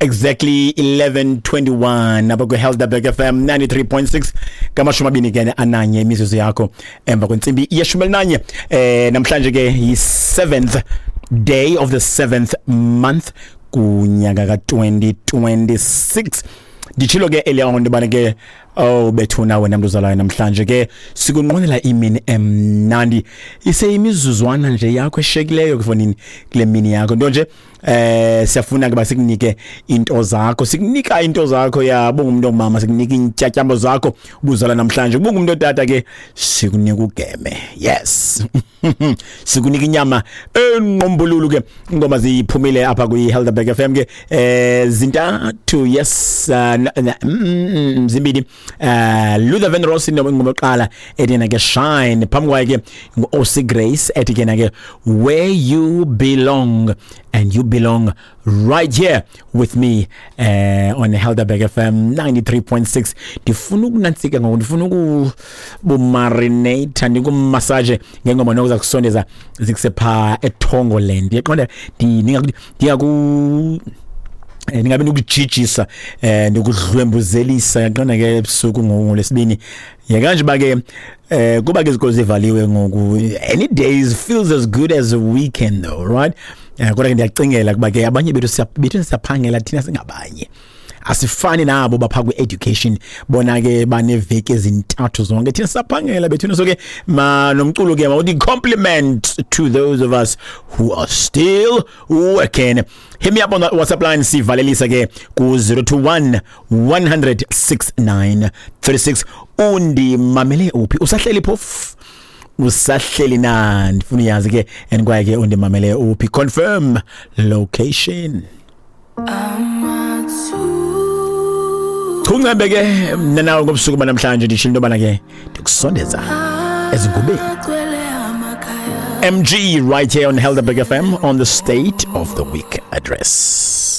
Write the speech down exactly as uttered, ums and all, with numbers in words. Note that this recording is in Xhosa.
Exactly eleven twenty-one apha kwi-Helderberg F M ninety-three point six, ngamashumi abini ke ananye imizuzu yakho emva kwentsimbi yeshumi elinanye. eh namhlanje ke yi-seventh day of the seventh month kunyaka ka-twenty twenty-six. Nditshilo ke earlier on into ke, oh bethuna, wena mntu uzalayo namhlanje ke, sikunqwenela imini emnandi. Iseyimizuzwana nje yakho eshekileyo kufonini kule mini yakho, nto nje eh siyafuna ke basikunike into zakho, sikunika into zakho. Yabo, ngumuntu ongumama, sikunika intyatyambo zakho ubuzala namhlanje. Kuba ngumuntu otata ke, sikunika ugeme. Yes, sikunika inyama enqombululu ke. Ingoma ziphumile apha kwi Helderberg F M ke, eh zintathu. Yes, uh, mm, mm, zimbini. uh Luther Vandross ingoma yokuqala ethi ke "Shine". Phambi kwaye ke ngu-O C Grace ethi ke ke "Where You Belong", and you belong right here with me uh, on Helderberg F M ninety-three point six. Ndifuna ukunantsika ngoku, ndifuna ukubumarinate, ndikumassage ngengoma nokuza kusondeza zikuse phaa eThongoland. Yaqonda, ndingaku eh ningabe nikujijisa, eh ndikudlwembuzelisa, yaqonda ke, ebusuku ngolesibini. Yeka ba ke eh kuba ke izikolo zivaliwe ngoku, any days feels as good as a weekend though, right? eh kodwa ke ndiyacingela kuba ke abanye bethu bethu siyaphangela thina, singabanye asifani nabo bapha kwi-education, bona ke baneveki ezintathu zonke, thina siyaphangela bethuna. So ke ma nomculo ke mawuthi compliment to those of us who are still working. Hit me up on the WhatsApp line, sivalelisa ke ku zero two one one hundred sixty-nine thirty-six. Undimamele uphi? Usahleli phofu? Usahleli na? Ndifuna uyazi ke, and kwaye ke undimamele uphi? Confirm location. Chungcembe ke mna nawe ngobusuku banamhlanje, ndishilo into yobana ke ndikusondeza ezingubeni. M G right here on Helderberg F M on the State of the Week Address.